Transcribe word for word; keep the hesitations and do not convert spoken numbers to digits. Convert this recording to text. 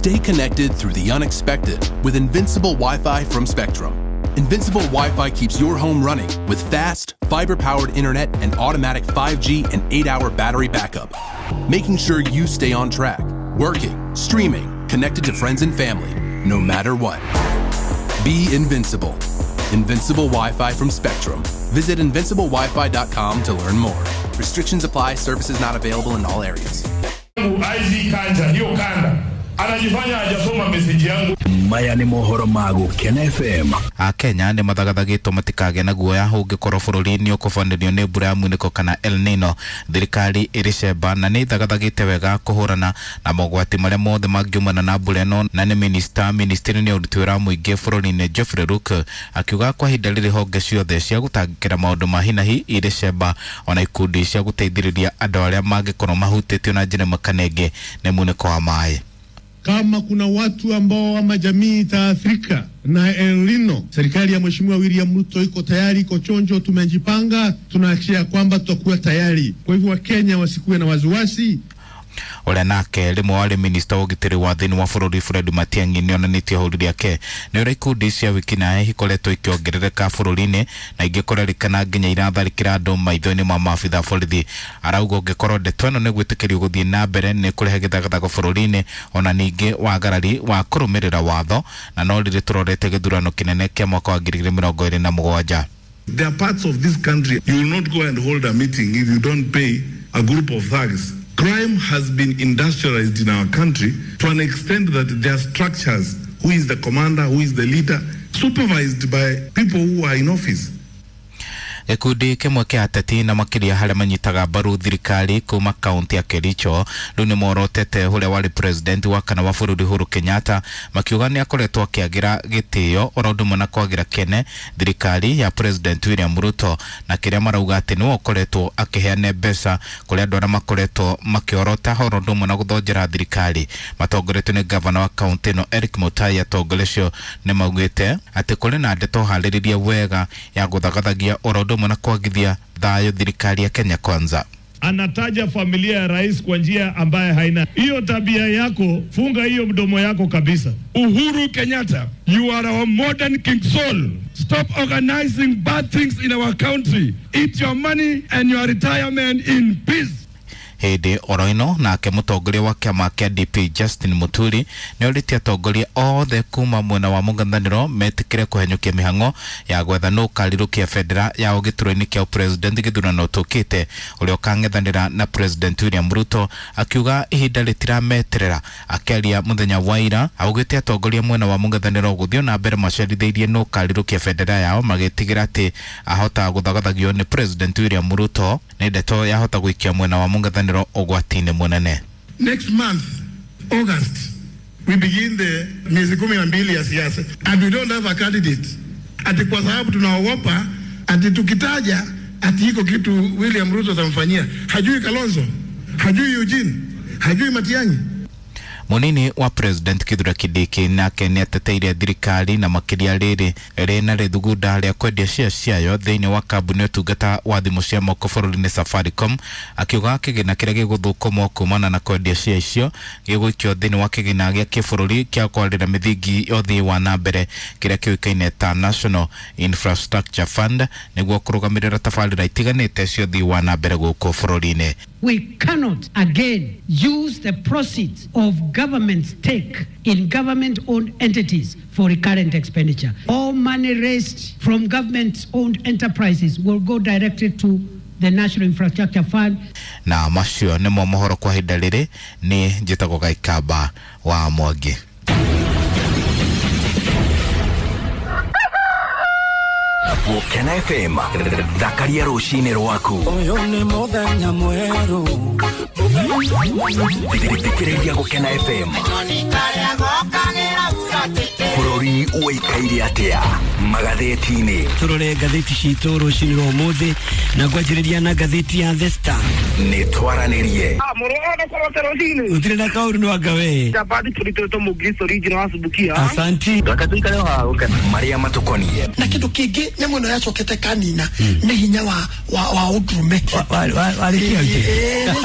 Stay connected through the unexpected with Invincible Wi-Fi from Spectrum. Invincible Wi-Fi keeps your home running with fast, fiber-powered internet and automatic five G and eight-hour battery backup, making sure you stay on track, working, streaming, connected to friends and family, no matter what. Be invincible. Invincible Wi-Fi from Spectrum. Visit invincible wifi dot com to learn more. Restrictions apply. Services not available in all areas. Anajifanya hajasoma message yangu. Maya ni mohoro ma Gukena F M. Akenya nĩ mathagathagĩtwo matikagĩe na guoya ũngĩkorwo bũrũri-inĩ ũkũbanĩrio nĩ mbura ya munĩko kana El Nino. Thirikari ĩrĩ cemba na nĩ ĩthagathagĩte wega kũhũrana na mogwati marĩa mothe mangiumana na mbura ĩno, na nĩ minista ministry-inĩ ya ũruti wĩra wa mũingĩ bũrũri-inĩ Geoffrey Luke akiuga kwa ihinda rĩrĩ honge ciothe cia gũtangĩkĩra maũndũ ma hinahi irĩ cemba ona ikundi cia gũteithĩrĩria andũ arĩa mangĩkorwo mahutĩtio na njĩra ĩmwe kana ĩngĩ nĩ munĩko wa maĩ. Kama kuna watu ambao ama jamii itaathirika na El Nino, serikali ya Mheshimiwa William Ruto iko tayari, iko chonjo, tumejipanga, tunahakikisha kwamba tutakuwa tayari. Kwa hivyo Wakenya wasikuwe na wasiwasi. Ũrĩa nake rĩmwe warĩ minista wa ũgitĩri wa thĩinĩ wa bũrũri Fred Matiang'i nĩonanĩtie hũri rĩake nĩ ũrĩa ikundi cia wĩkinaĩ ikoretwo ikĩongerereka bũrũri-inĩ na ingĩ kũrerĩkana nginya iratharĩkĩra andũ maitho-inĩ ma maabitha borithi. Arauga ũngĩkorwo ndeto ĩno nĩ gwĩtĩkĩrio gũthiĩ na mbere nĩ kũrehe gĩthagathago bũrũri-inĩ ona ningĩ wagarari wa kũrũmĩrĩra watho, na no rĩrĩ tũrorete gĩthurano kĩnene kĩa mwaka wa ngiri igĩrĩ mĩrongo ĩrĩ na mũgwanja. There are parts of this country you will not go and hold a meeting if you don't pay a group of thugs. Crime has been industrialized in our country to an extent that there are structures, who is the commander, who is the leader, supervised by people who are in office. Gĩkundi kĩmwe kĩa ateti na makĩria harĩa manyitaga mbaru thirikari kuma kaunti ya Kericho rĩu nĩ morotete ũrĩa warĩ president wa kana wa bũrũri Uhuru Kenyatta, makiuga nĩ akoretwo akĩagĩra gĩtĩo oro ũndũ ũmwe na kwagĩra kene thirikari ya President William Ruto, na kĩrĩa marauga atĩ nĩwe ũkoretwo akĩheana mbeca kũrĩ andũ arĩa makoretwo makĩorota oro ũndũ ũmwe na gũthonjera thirikari. Matongoretio nĩ gavana wa kaunti ĩno Eric Mutai, atongoria acio nĩ maugĩte atĩ kũrĩ na ndeto harĩrĩrie wega ya gũthagathagia oro ũndũ na kuagithia thayo thirikari ya Kenya Kwanza. Anataja familia ya rais kwa njia ambaye haina hiyo tabia yako, funga hiyo mdomo yako kabisa. Uhuru Kenyatta, you are our modern King Saul. Stop organizing bad things in our country. Eat your money and your retirement in peace. Hĩndĩ oro ĩno nake mũtongoria wa kĩama kĩa D P Justin Muturi nĩorĩtie atongoria othe kuma mwena wa mũng'ethanĩro metĩkĩre kũhenyũkia mĩhang'o ya gwetha nũ ũkarirũkia bendera yao gĩturwa-inĩ kĩa president gĩthurano tũkĩte ũrĩa ũkang'ethanĩra na President William Ruto, akiuga ihinda rĩtirameterera. Akĩaria mũthenya wa ira augĩte atongoria mwena wa mũng'ethanĩro gũthiĩ na mbere macerithĩirie nũ ũkarirũkia bendera yao magĩtigĩra atĩ ahota gũthagathagio nĩ President William Ruto nĩ ndeto yahota gũikia mwena wa mũng'ethanĩro ũgwati-inĩ mũnene. Next month, August, we begin the miezi kumi na mbili ya siasa and we don't have a candidate. Ati kwa sababu tunaogopa ati tukitaja ati iko kitu William Ruto atamfanyia. Hajui Kalonzo, hajui Eugene, hajui Matiang'i. Munini wa President Kithure Kindiki nake nĩateteire thirikari na makĩria rĩrĩ rĩna rĩthugunda rĩa kwendia share ciayo thĩinĩ wa kambuni ũtungata wa thimũ cia moko bũrũri-inĩ Safaricom, akiuga kĩgĩna kĩrĩa gĩgũthũkũmwo kumana na kwendia share icio gĩgũikio thĩinĩ wa kĩgĩna gĩa kĩbũrũri kĩa kwarĩra mĩthingi ya ũthii wa na mbere kĩrĩa kĩũĩkaine ta National Infrastructure Fund nĩguo kũrũgamĩrĩra tabarĩra itiganĩte cia ũthii wa na mbere gũkũ bũrũri-inĩ. We cannot again use the proceeds of government stake in government-owned entities for recurrent expenditure. All money raised from government-owned enterprises will go directly to the National Infrastructure Fund. Na macio nĩmo mohoro kwa ihinda rĩrĩ, nĩ njĩtagwo Gaikamba wa Mwangi. Gukena F M thakaria rũcinĩ rwaku. Ũyũ nĩ mũthenya mwerũ. Thikĩrĩria Gukena F M. Bũrũri ũikaire atĩa magathĩti-inĩ? Tũrore ngathĩti citũ rũcinĩ rwa ũmũthĩ na ngwanjĩrĩria na ngathĩti ya The Star. Nĩ twaranĩrie. Gũtirĩ na kaũndũ no anga we. Asanti. Marĩa matũkoniĩ na kĩndũ kĩngĩ nyamũ ĩno yacokete kanina nĩ hinya wa wa wa ũndũrũme. Warĩkia.